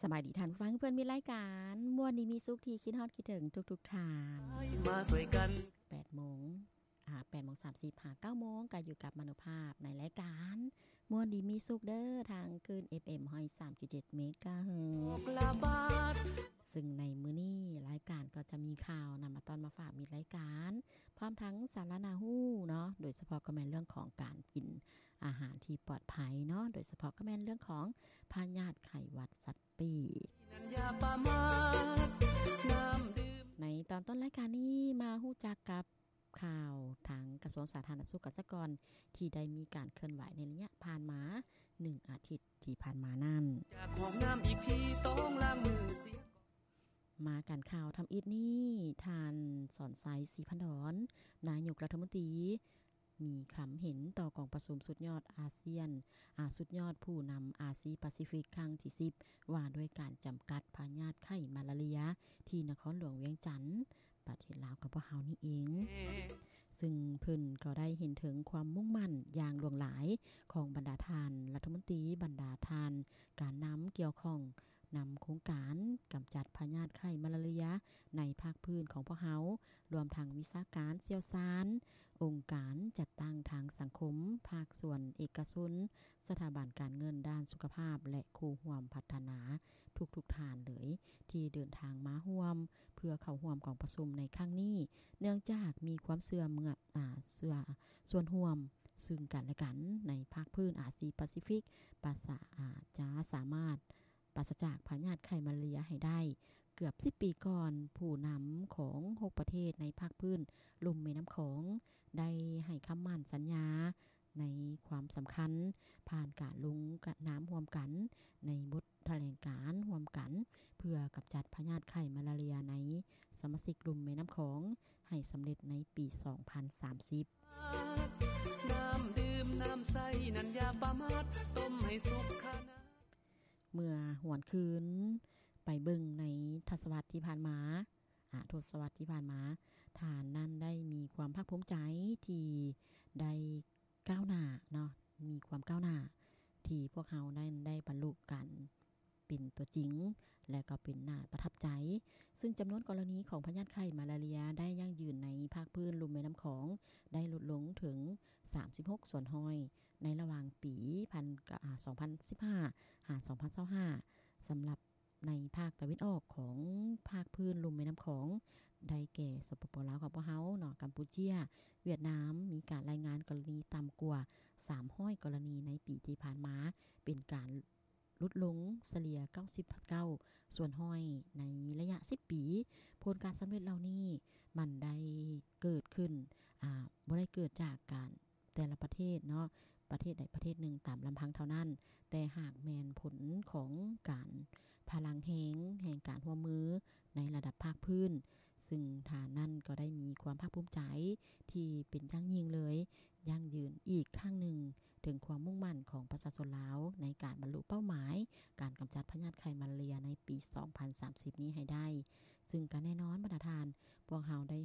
ສະບາຍດີທ່ານຜູ້ຟັງເພື່ອນມິດລາຍການ ມ່ວນດີມີສຸກທີ່ຄິດຮອດຄິດເຖິງທຸກໆທ່ານ ມາຊ່ວຍກັນ ແປດໂມງ ອ່າ ແປດໂມງສາມສິບຫາເກົ້າໂມງ ກໍຢູ່ກັບມະໂນພາບໃນລາຍການ ມ່ວນດີມີສຸກເດີ ທາງຄື້ນ ເອັຟເອັມ ຮ້ອຍສາມຈຸດເຈັດ ເມກາເຮີດ ຊຶ່ງໃນມື້ນີ້ລາຍການກໍຈະມີຂ່າວນຳມາຕ້ອນມາຝາກມິດລາຍການ ພ້ອມທັງສາລະໜ້າຮູ້ເນາະ ໂດຍສະເພາະກໍແມ່ນເລື່ອງຂອງການກິນອາຫານທີ່ປອດໄພເນາະ ໂດຍສະເພາະກໍແມ່ນເລື່ອງຂອງພະຍາດໄຂ້ຫວັດສັດປີກ. ໃນຕອນຕົ້ນລາຍການນີ້ມາຮູ້ຈັກກັບ ຂ່າວທາງກະຊວງສາທາລະນະສຸກກັບສະກອນ ທີ່ໄດ້ມີການເຄື່ອນໄຫວໃນໄລຍະຜ່ານມາໜຶ່ງອາທິດທີ່ຜ່ານມານັ້ນ ຈາກຫ້ອງນ້ຳອີກທີຕ້ອງລ້າງມືເສຍ ມາກັນຂ່າວທຳອິດນີ້ ທ່ານ ສອນໄຊ ສີພັນດອນ ນາຍົກລັດຖະມົນຕີ ມີຄຳເຫັນຕໍ່ກອງປະຊຸມສຸດຍອດອາຊຽນ ອາ ສຸດຍອດຜູ້ນຳອາຊີປາຊີຟິກຄັ້ງທີສິບ ວ່າດ້ວຍການຈຳກັດພະຍາດໄຂ້ມາລາເຣຍ ທີ່ນະຄອນຫຼວງວຽງຈັນ ປະເທດລາວຂອງພວກເຮົານີ້ເອງ ຊຶ່ງເພິ່ນກໍໄດ້ເຫັນເຖິງຄວາມມຸ່ງໝັ້ນຢ່າງຫຼວງຫຼາຍຂອງບັນດາທ່ານລັດຖະມົນຕີ, ບັນດາທ່ານການນຳກ່ຽວຂ້ອງນຳໂຄງການກຳຈັດພະຍາດໄຂ້ມາລາເຣຍໃນພາກພື້ນຂອງພວກເຮົາ, ລວມທັງວິຊາການຊ່ຽວຊານ, ອົງການຈັດຕັ້ງທາງສັງຄົມ, ພາກສ່ວນເອກະຊົນ, ສະຖາບັນການເງິນດ້ານສຸຂະພາບ ແລະ ຄູ່ຮ່ວມພັດທະນາທຸກໆທ່ານເລີຍ ທີ່ເດີນທາງມາຮ່ວມ ເພື່ອເຂົ້າຮ່ວມກອງປະຊຸມໃນຄັ້ງນີ້ ເນື່ອງຈາກມີຄວາມເຊື່ອເມື່ອ ອາ ເຊື່ອສ່ວນຮ່ວມຊຶ່ງກັນແລະກັນໃນພາກພື້ນອາຊີປາຊີຟິກ ປາສາ ອາ ຈະສາມາດປາສະຈາກພະຍາດໄຂ້ມາລາເຣຍໃຫ້ໄດ້. ເກືອບສິບປີກ່ອນ, ຜູ້ນຳຂອງຫົກປະເທດໃນພາກພື້ນລຸ່ມແມ່ນ້ຳຂອງ ໄດ້ໃຫ້ຄຳໝັ້ນສັນຍາ ໃນຄວາມສຳຄັນ ຜ່ານການລົງນາມຮ່ວມກັນໃນບົດຖະແຫຼງການຮ່ວມກັນ ເພື່ອກຳຈັດພະຍາດໄຂ້ມາລາເຣຍໃນສະມາຊິກລຸ່ມແມ່ນ້ຳຂອງໃຫ້ສຳເລັດໃນປີສອງພັນສາມສິບ. ນ້ຳດື່ມນ້ຳໃສນັ້ນຢ່າປະໝາດ ຕົ້ມໃຫ້ສຸກຄານ້ຳ. ເມື່ອຫວນຄືນໄປເບິ່ງໃນທະສະວັດທີ່ຜ່ານມາ ອາ ທົດສະວັດທີ່ຜ່ານມາ, ທ່ານນັ້ນໄດ້ມີຄວາມພາກພູມໃຈທີ່ໄດ້ ກ້າວໜ້າເນາະ, ມີຄວາມກ້າວໜ້າທີ່ພວກເຮົານັ້ນໄດ້ບັນລຸການເປັນຕົວຈິງ ແລະ ກໍເປັນໜ້າປະທັບໃຈ, ຊຶ່ງຈຳນວນກໍລະນີຂອງພະຍາດໄຂ້ມາລາເຣຍໄດ້ຢັ້ງຢືນໃນພາກພື້ນລຸ່ມແມ່ນ້ຳຂອງໄດ້ຫຼຸດລົງເຖິງສາມສິບຫົກສ່ວນຮ້ອຍ ໃນລະຫວ່າງປີພັນ ອາ ສອງພັນສິບຫ້າ ຫາ ສອງພັນຊາວຫ້າ ສຳລັບ ໃນພາກຕາເວັນອອກຂອງພາກພື້ນລຸ່ມແມ່ນ້ຳຂອງ ໄດ້ແກ່ ສປປ ລາວຂອງພວກເຮົາເນາະ, ກຳປູເຈຍ, ຫວຽດນາມ ມີການລາຍງານກໍລະນີຕ່ຳກວ່າສາມຮ້ອຍກໍລະນີໃນປີທີ່ຜ່ານມາ, ເປັນການຫຼຸດລົງສະເລ່ຍເກົ້າສິບເກົ້າສ່ວນຮ້ອຍໃນໄລຍະສິບປີ. ຜົນການສຳເລັດເຫຼົ່ານີ້ມັນໄດ້ເກີດຂຶ້ນ, ອາ, ບໍ່ໄດ້ເກີດຈາກການ ແຕ່ລະປະເທດເນາະ, ປະເທດໃດປະເທດໜຶ່ງຕາມລຳພັງເທົ່ານັ້ນ, ແຕ່ຫາກແມ່ນຜົນຂອງການພະລັງແຮງ, ແຮງການຮ່ວມມືໃນລະດັບພາກພື້ນ, ຊຶ່ງທ່ານນັ້ນກໍໄດ້ມີຄວາມພາກພູມໃຈທີ່ເປັນຢ່າງຍິ່ງເລີຍ, ຢັ້ງຢືນອີກຄັ້ງໜຶ່ງເຖິງຄວາມມຸ່ງໝັ້ນຂອງປະຊາຊົນລາວໃນການບັນລຸເປົ້າໝາຍການກຳຈັດພະຍາດໄຂ້ມາລາເຣຍໃນປີສອງພັນສາມສິບນີ້ໃຫ້ໄດ້, ຊຶ່ງກໍແນ່ນອນບັນດາທ່ານ, ພວກເຮົາໄດ້